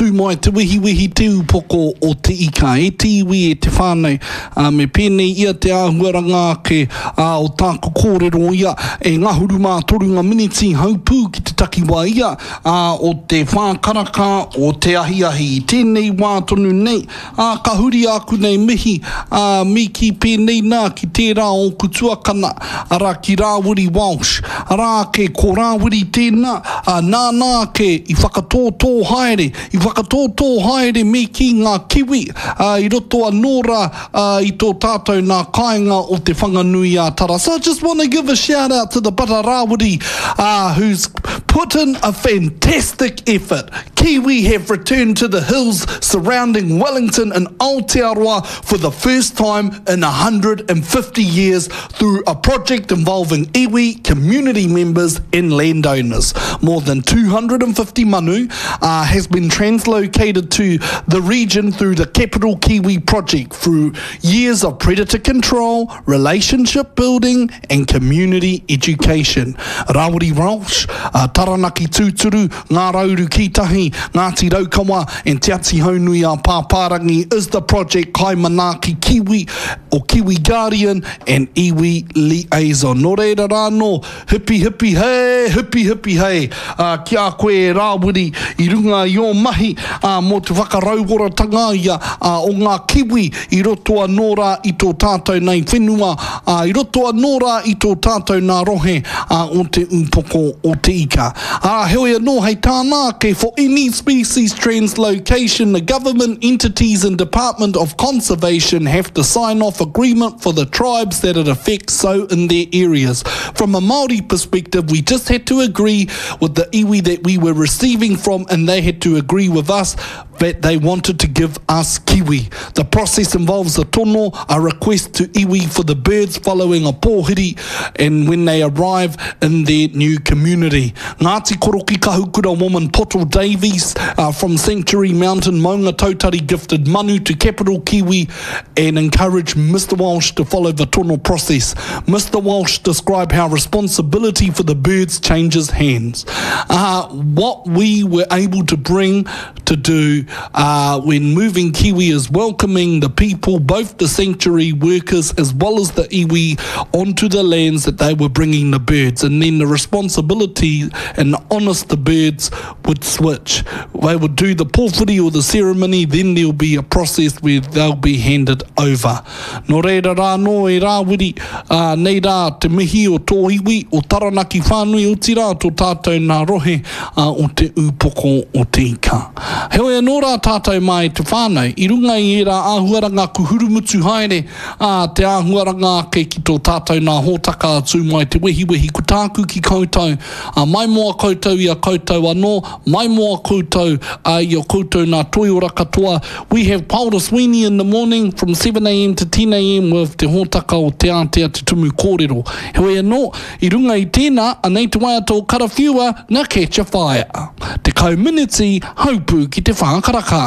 Tū mai te wehiwehi te upoko o te ika e te iwi e te whānau, ā, me pēnei ia te āhuaranga ake, ā, o tāku kōrero ia, e ngahuru mā toru ngā miniti haupū ki te takiwā ia, ā, o te whā karaka o te ahiahi i tēnei wā tonu nei, Ā, ka huri āku nei mihi, ā, me kī pēnei nā ki tērā ōku tuakana, arā, ki Rāwiri Walsh. Arā ake, ko Rāwiri tēnā, ā, nāna ake i whakatōtō haere, i whakatōtō haere me kī ngā kiwi, ā, i roto anō rā, ā, i tō tātou nā kāinga o Te Whanganui-ā-Tara. So I just want to give a shout out to the brother Rāwiri, ā, who's put in a fantastic effort. Kiwi have returned to the hills surrounding Wellington and Aotearoa for the first time in 150 years through a project involving iwi, community members and landowners. More than 250 manu uh, has been translocated to the region through the Capital Kiwi project through years of predator control, relationship building and community education. Rawiri Walsh, uh, Taranaki Tūturu, Ngā Rauru Kītahi, Ngāti Raukawa and Te Atihaunui a Pāpārangi is the project Kaimanaaki Kiwi or Kiwi Guardian and Iwi Liaison. Nō reira rā anō, hipi hipi hei, hipi hipi hei, ā, ki a koe e Rāwiri i runga i ō mahi, ā, mō te whakarauoratanga ia, ā, o ngā kiwi i roto anō rā i tō tātou nei whenua, ā, i roto anō rā i tō tātou nā rohe, ā, o te ūpoko o te ika. Ā, heoi anō hei tāna ake, for any species translocation, the government entities and Department of Conservation have to sign off agreement for the tribes that it affects so in their areas. From a Māori perspective, we just had to agree with the iwi that we were receiving from and they had to agree with us that they wanted to give us kiwi. The process involves a tono, a request to iwi for the birds following a pōhiri and when they arrive in their new community. Ngāti Koroki Kahukura woman Poto Davies uh, from Sanctuary Mountain Maungatautari gifted manu to Capital Kiwi and encouraged Mr Walsh to follow the tono process. Mr Walsh described how responsibility for the birds changes hands. Uh, what we were able to bring to do uh, when moving Kiwi is welcoming the people, both the sanctuary workers as well as the iwi, onto the lands that they were bringing the birds. And then the responsibility and the honest the birds would switch. They would do the pōwhiri or the ceremony, then there'll be a process where they'll be handed over. Nō reira rā anō e Rāwiri, ā, nei rā te mihi o tō iwi, o Taranaki whānui, otirā tō tātou nā rohe, ā, o Te Ūpoko o Te Ika. Heoi anō rā tātou mā e te whānau, i runga i ērā āhuaranga kuhurumutu haere, ā, te āhuaranga ake ki tō tātou nā hōtaka a Tū Mai Te Wehiwehi, ko tāku ki koutou, ā, maimoa koutou i a koutou anō, maimoa koutou, ā, i a koutou nā toiora katoa, We have Paora Sweeney in the morning from 7am to 10am with te hōtaka o Te Ātea Te Tumu Kōrero. Heoi anō, i runga i tēnā, anei te waiata o Karawhiua, Nā Catch a Fire. 10 miniti, haupū ki te whā karaka.